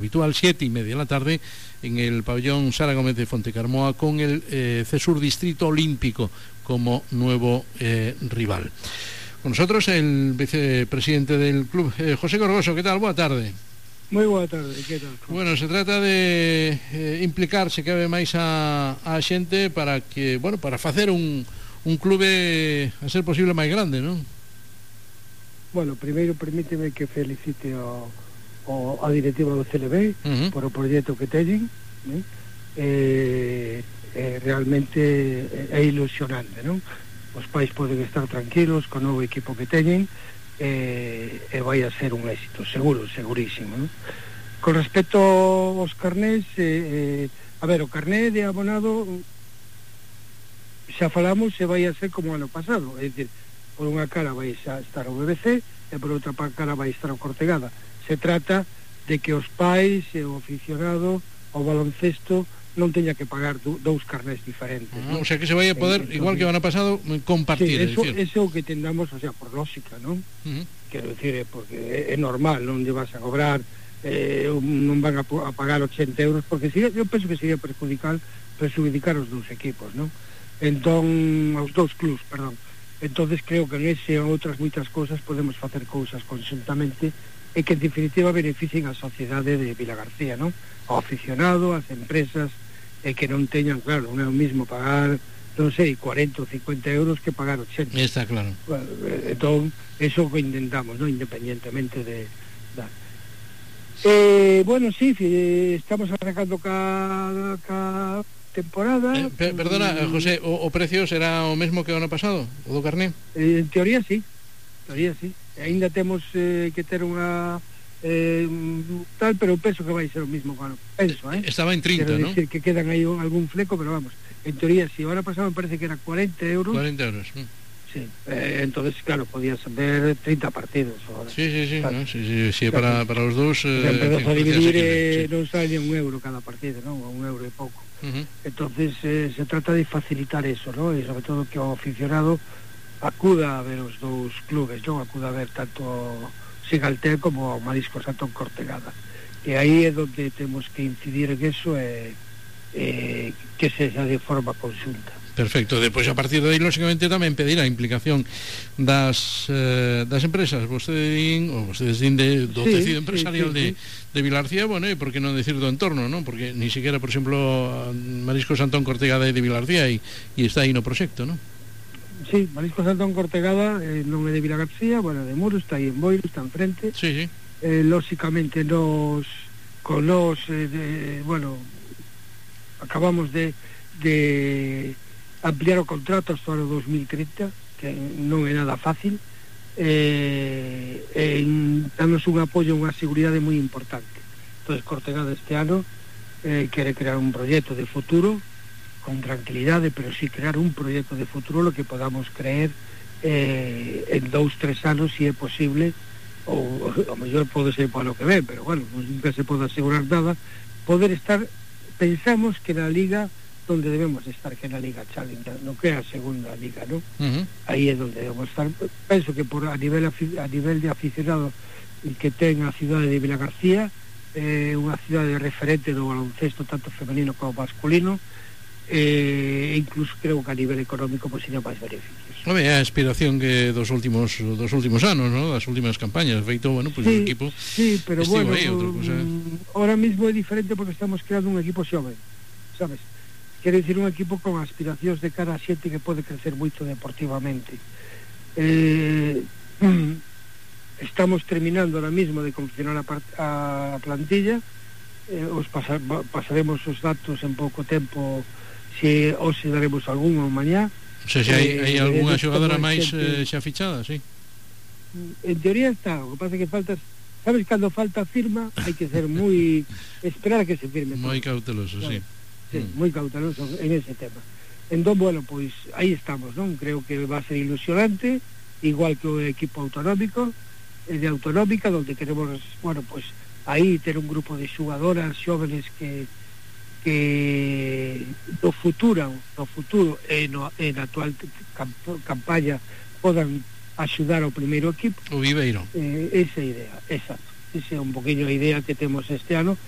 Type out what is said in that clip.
habitual, 7:30 de la tarde, en el pabellón Sara Gómez de Fontecarmoa, con el CESUR Distrito Olímpico como nuevo rival. Con nosotros el vicepresidente del club, José Gorgoso. ¿Qué tal? Buena tarde. Moi boa tarde, que tal? Bueno, se trata de implicarse cada vez máis a xente para que, bueno, para facer un clube a ser posible máis grande, non? Bueno, primeiro permíteme que felicite a directiva do CLB por o proxecto que teñen, realmente é ilusionante, non? Os pais poden estar tranquilos con o novo equipo que teñen, e vai a ser un éxito, segurísimo, non? Con respecto aos carnés, a ver, o carné de abonado xa falamos, se vai a ser como ano pasado, é dicir, por unha cara vai a estar o BBC e por outra cara vai estar o Cortegada. Se trata de que os pais e o aficionado ao baloncesto non teña que pagar dous carnés diferentes, non? O sea que se vai a poder, igual que o ano pasado, compartir. Sí, eso é o que tendamos, o sea, por lógica, non? Quero dicir, porque é normal, non lle vas a cobrar, non van a pagar 80 euros, porque eu penso que sería perjudicar os dous equipos, non? Entón, aos dous clubs, perdón. Entonces creo que en ese e outras moitas cousas podemos facer cousas conjuntamente e que en definitiva beneficien a sociedade de Vilagarcía, non? Ao aficionado, as empresas, e que non teñan, claro, non é o mismo pagar, non sei, 40 ou 50 euros que pagar 80. Está claro. Bueno, entón, eso que intentamos, non? Independientemente de... bueno, sí, estamos arrancando cada temporada. Perdona, José, o precio será o mesmo que o ano pasado, o do carné? En teoría sí. Ainda temos que ter unha tal, pero penso que vai ser o mismo, bueno, penso, Estaba en 30, quero ¿no? decir que quedan aí algún fleco, pero vamos, en teoría sí. O ano pasado me parece que era 40 euros. 40 euros. Sí, entonces claro, podías ver 30 partidos ahora. Sí, claro. ¿No? Sí, para los dos empezas a dividir, non sale un euro cada partido, non? Un euro e pouco. Entonces se trata de facilitar eso, ¿no? E sobre todo que o aficionado acuda a ver os dous clubes, non? Acuda a ver tanto Sigaltel como o Mariscos Antón Cortegada. E aí é onde temos que incidir en eso, que sexa de forma conxunta. Perfecto. Depois, a partir de aí, lógicamente, tamén pedir a implicación das empresas. Vostedes din do tecido empresarial de Vilarcía, bueno, e por que non decir do entorno, non? Porque ni siquiera, por exemplo, Mariscos Antón Cortegada é de Vilarcía e está aí no proxecto, non? Sí, Mariscos Antón Cortegada non é de Vilagarcía, bueno, de Muros, está aí en Boiro, está enfrente. Sí. Lógicamente bueno, acabamos de ampliar o contrato hasta o 2030, que non é nada fácil, danos un apoio, unha seguridade moi importante. Entonces Cortegada este ano quere crear un proxecto de futuro con tranquilidade, pero sí crear un proxecto de futuro lo que podamos creer en 2-3 anos, si é posible, ou a mellor pode ser para o que ven, pero bueno, nunca se pode asegurar nada, poder estar, pensamos que na liga donde debemos estar, que na Liga Challenger, no que é a segunda liga, ¿no? Aí é donde debemos estar. Penso que a nivel de aficionado que ten a cidade de Vilagarcía, unha cidade referente do baloncesto tanto femenino como masculino, e incluso creo que a nivel económico pues sería máis beneficios. É a aspiración que dos últimos anos, ¿no? Das últimas campañas, feito, bueno, pues sí, o equipo. Sí, pero bueno, aí, outra cosa. Ahora mismo é diferente porque estamos creando un equipo xoven, sabes? Quero dicir, un equipo con aspiracións de cara a xente que pode crecer moito deportivamente. Estamos terminando ahora mismo de confeccionar a plantilla, pasaremos os datos en pouco tempo, se hoxe daremos algún ou mañá. O sea, se hai algunha xogadora máis xa fichada, sí? En teoría está, o que pasa é que faltas, sabes, cando falta firma hai que ser moi, esperar a que se firme. Moi cauteloso, claro. Sí. Sí, moi cauteloso en ese tema. Entón, bueno, pois aí estamos, non? Creo que va a ser ilusionante, igual que o equipo autonómico, de autonómica, donde queremos, bueno, pois aí ter un grupo de xogadoras xóvenes que no futuro e na actual campaña podan axudar ao primeiro equipo. O Viveiro. Esa idea, exacto. Esa é un poquinho a idea que temos este ano,